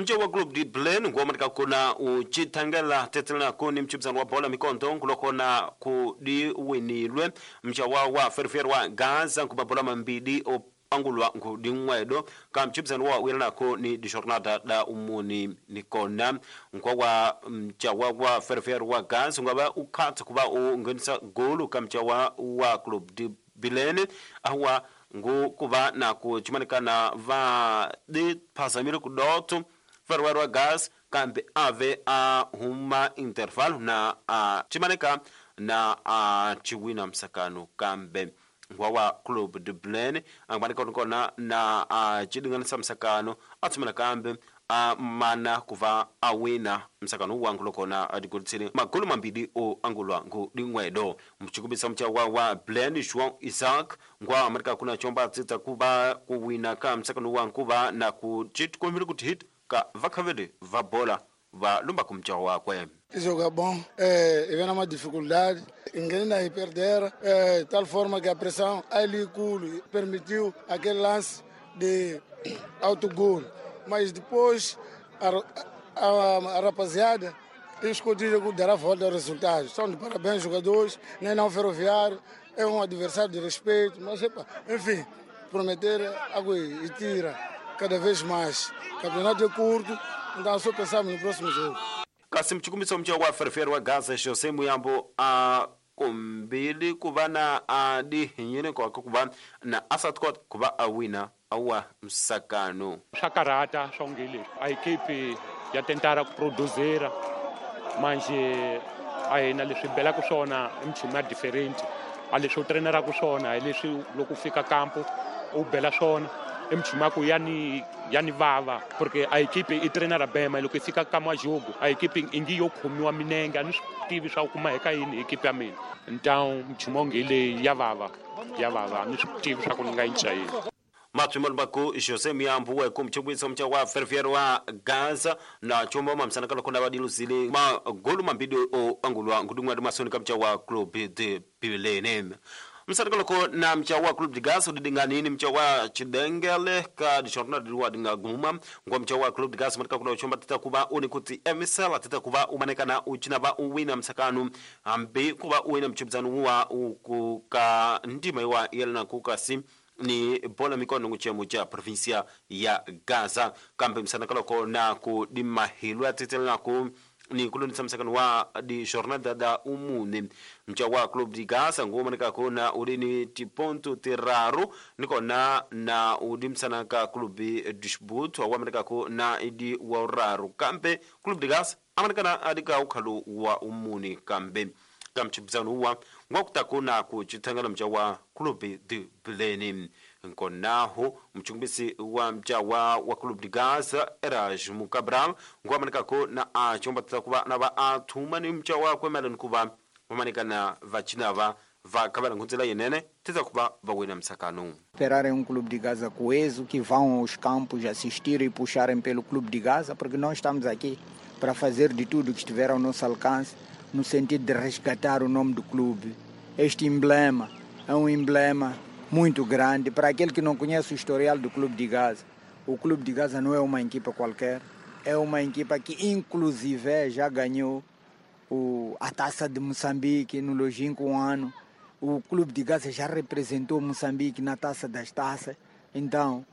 Mche wa Club de Blen nguomanika kuna uchithangela tetselana kuni mchibzano wa bola mikondo nkulokona kudi winilwe mcha wa Ferroviário wa Gaza nkumabola mambidi angulwa nkuding'wedo ka mchibzano wa wilanako ni dijornada da umuni nikona nkwa wa mcha wa Ferroviário wa Gaza ngaba ukhatsa kuba ungenisa golu ka mcha wa Club de Bilene awa ngu kuva na kuchimanikana va diphasamile kudoto Ferroviário wa Gas kambe ave a huma intervalo na a chimanika na a chiwina msakano kambe ngwa Club de Blen angmanika kona na a chidinganisa msakano atsumela kambe a mana kuva awina msakano wangu lokona adikulitsile magolu mambili o angulwa ngu dingwedo mchikubisa mcha wa Blen João Isaac ngwa amerika kuna chomba tsitsa kuva kuwina ka msakano wangu kuva na kuchitkomile kuti hit ka vakhavele va bola va lumba kumcha wakwe. Joga bom, e vem uma dificuldade, engana e perder, tal forma que a pressão ali permitiu aquele lance de autogol. Mas depois a rapaziada escondida dará volta ao resultado. São de parabéns jogadores, nem não Ferroviário, é um adversário de respeito, mas epa, enfim, prometer água e tira cada vez mais. O campeonato é curto, então só pensamos no próximo jogo. Kasi mchikumiso mcha wa Ferroviário wa Gaza José Muyambo a kumbili kuva na adihinyine kwa kuva na asatkot kuva awina awa msakano. Swa karhata swa onge leswi a ekipi ya tentara ku produzera manje a hina leswi belaka swona i minchumu ya different a leswi u treneraka swona hi leswi loko u fika kampo u bela swona i minchumu ya ku ya ni vava porque a ekipi i trenera bema loko i fika ka majogo a ekipi ingi yo khomiwa minenge a ni swi tivi swa ku kuma eka yini ekipi ya mina então minchumu onge leyi ya vava a ni swi tivi swa ku ni nga yi cinca yini. Matswimalo baku José Muyambo we kumchikubiso mcha wa Ferroviário wa Gaza na chombo mamsanaka lokona badiluzile magolu mambili o angulwa ngudungwa masoni kamcha wa Club de Bilene. Msanaka loko na mcha wa Club de Gaza udidinganini mcha wa Chidengele ka dijornada wa dinga guma ngwa mcha wa Club de Gaza matika kuna chomba tita kuba unikuti emisela tita kuba umanekana uchina ba uwina msakanu ambi kuba uwina mchibzanu wa ukuka ndima wa yelna kukasi ni bola mikono nguchemo cha provincia ya Gaza kambe msanakaloko na kudimahilwa titela ku ni kulonisa msakano wa di jornada da umune mcha wa Club de Gaza nguomaneka kona ulini tiponto tiraru nikona na udimsanaka Club Dishbut awamaneka ko na idi wa kambe Club de Gaza amanekana adika ukhalu wa umune kambe kamchibzano wa ngwakutakuna kuchithangala mcha wa Club de Belém nkonaho mchungumbisi wa mcha wa Club de Gaza Erasmo Cabral ngwamanikako na achomba tatakuva na va athuma ni mcha wakwe malani kuva vamanikana vachinava vakhavala nkhunzela yenene titakuva vawina msakano. Esperarem um Clube de Gaza coeso, que vão aos campos assistir e puxarem pelo Clube de Gaza, porque nós estamos aqui para fazer de tudo que estiver ao nosso alcance, no sentido de resgatar o nome do clube. Este emblema é um emblema muito grande. Para aquele que não conhece o historial do Clube de Gaza, o Clube de Gaza não é uma equipa qualquer, é uma equipa que inclusive já ganhou a Taça de Moçambique no longínquo ano. O Clube de Gaza já representou Moçambique na Taça das Taças. Então,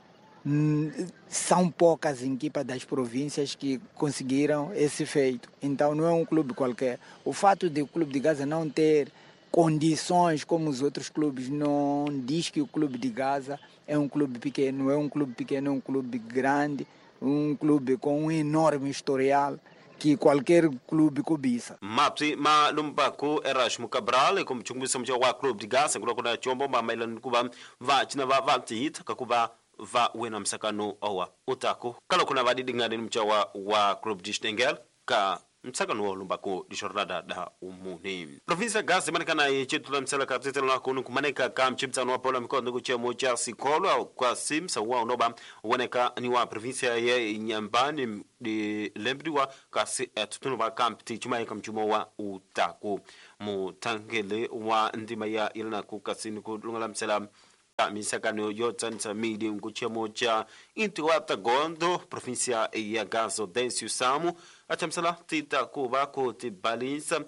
são poucas equipas das províncias que conseguiram esse feito. Então não é um clube qualquer. O fato de o Clube de Gaza não ter condições como os outros clubes não diz que o Clube de Gaza é um clube pequeno. É um clube pequeno, é um clube grande, um clube com um enorme historial que qualquer clube cobiça. Mapsi ma lumbaku Erasmo Cabral kumchungumbisa mcha wa Clube de Gaza kulokona chombo mamailani kuva va china va va kakuva va wena msakano owa utako kala kuna vadidingani mcha wa Club de Stengel ka msakano wa lumbako dishorada da umuni provinsia Gaza manikana yechitula msala kapsitela na kunu kumaneka ka mchibzano wa pola mikondo kuchemo cha sikolo kwa simsa wa unoba waneka ni wa provinsia ya Nyambani di lembriwa kasi tutunu wa kampti chumai kamchumo wa utako mutangele wa ndima ya ilana kukasini kulungala msala ta misakano yo tsanisa midi nkuchemo cha inti wa Tagondo província ya Gaza Dêncio Samo achamusela tita kuva ku tibalisa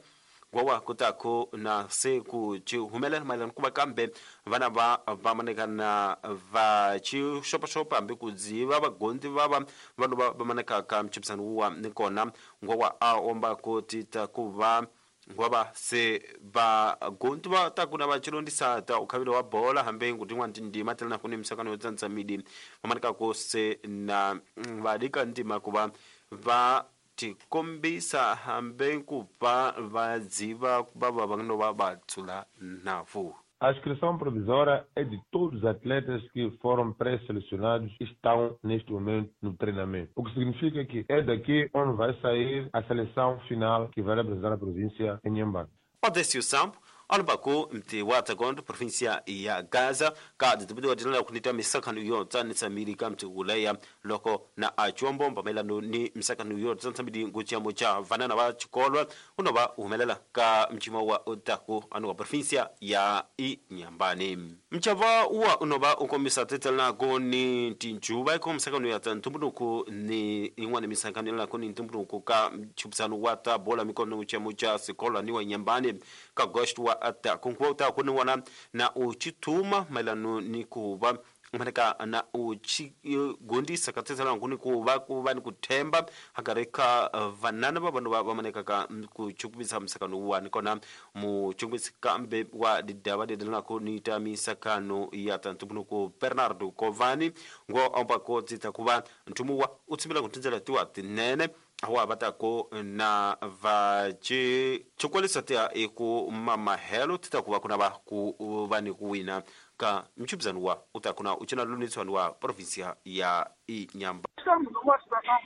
gwawa kutako na se ku ci humelela mayelana kuva kambe vana va va manekana va ci xopaxopa hambi ku dziva vagondi va vanhu va manekaka mchipisano wuwa ni kona ngwawa a omba ku tita ku va ngwava se vagondi va ta kuna va chilondisa ta ukhavilo wa bola hambi ngu tin'wana tindima tela na ku ni misakano yo tsandza midi va manekako se na va dika ndima ku va va tikombisa hambi ku va va dziva va va va no va va tsula navu. A inscrição provisória é de todos os atletas que foram pré-selecionados e estão neste momento no treinamento. O que significa que é daqui onde vai sair a seleção final que vai representar a província em Inhambane. Odécio Sampo alubaku mti wa Tagondo província ya Gaza ka ditibidiwa dinala kunita misakano yo tsanisa mili ka mti uleya loko na achuombo mayelano ni misakano yo tsanisa mili nguchiyamo cha vanana va chikolwa unova humelela ka mchimo wa otaku anu wa província ya Inhambane. Mchava uwa unova ukombisa tetelako ni tinjuva iko misakano ya ntumbunuku ni in'wana misakano yalako ni ntumbunuku ka mchupisano wa ta bola mikono nguchiyamo cha sikolwa ni wa Inhambane ka gosto wa ata kunkuwa uta kuni wana na uchituma maelano ni kuva maneka na uchigondisa katsetsela nkuni kuva kuva ni kuthemba hakareka vanana va vanhu va maneka ka kuchukubisa misakano wa nikona muchukubisi kambe wa didava didelanaku ni ta misakano ya tantumbunuku Bernardo Kovani ngo omba ko tsita kuva ntumu wa utsimbila kutindzela tiwa tinene awa batako na va ci chikwalisa tia eku mamahelo tita kuva kuna va ku va ni ku wina ka mchubizano wa utakuna uchina luniswani wa província ya Inhambane. Estamos numa situação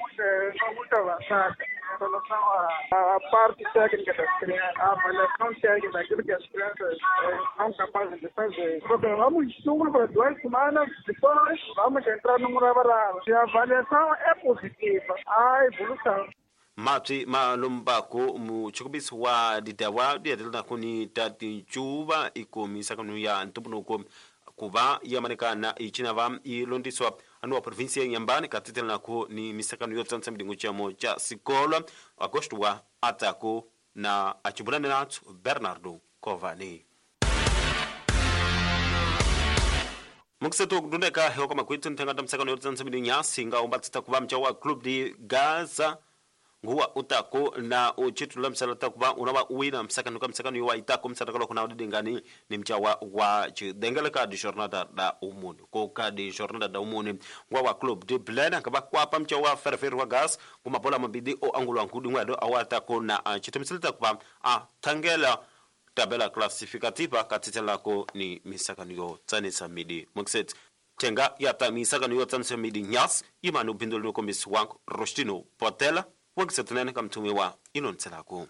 muito avançada em relação à parte técnica das crianças, à avaliação técnica daquilo que as crianças são capazes de fazer. Programamos estudo para 2 semanas, depois vamos entrar no Murabaraba. Se a avaliação é positiva, há evolução. Mapsi malumbako muchikubisi wa didawa diatelana kuni tatincuva ikomisakanu ya ntumbunuko kuva yamanekana ichinava ilondiswa anu wa província ya Inhambane katitelanako ni misakano yotsanisa midingo chamo cha sikola agosto wa atako na achibulane natso Bernardo Kovani. Mukiseto kudundeka hewa makwithu nthengata misakano yotsanisa midingo nyasi nga ombatsita kuva mcha wa Club de Gaza nguwa utako na uchitula msala takuba unawa uwina msakano ka msakano yuwa itako msakano kuna udidingani ni mchawa wa chidengele ka di jornada da umuni ko ka di jornada da umuni nguwa wa Club de Blena kaba kwapa mchawa ferfer wa gas kumabola mabidi o angulo ankudi ngwado awatako na chitemisele takuba a tangela tabela classificativa katitelako ni misakano yo tsanisa midi mokset tenga yata misakano yo tsanisa midi nyas imanu bindolo kombisi wangu Rostino Potela wakisetunene kamtumiwa inonselako.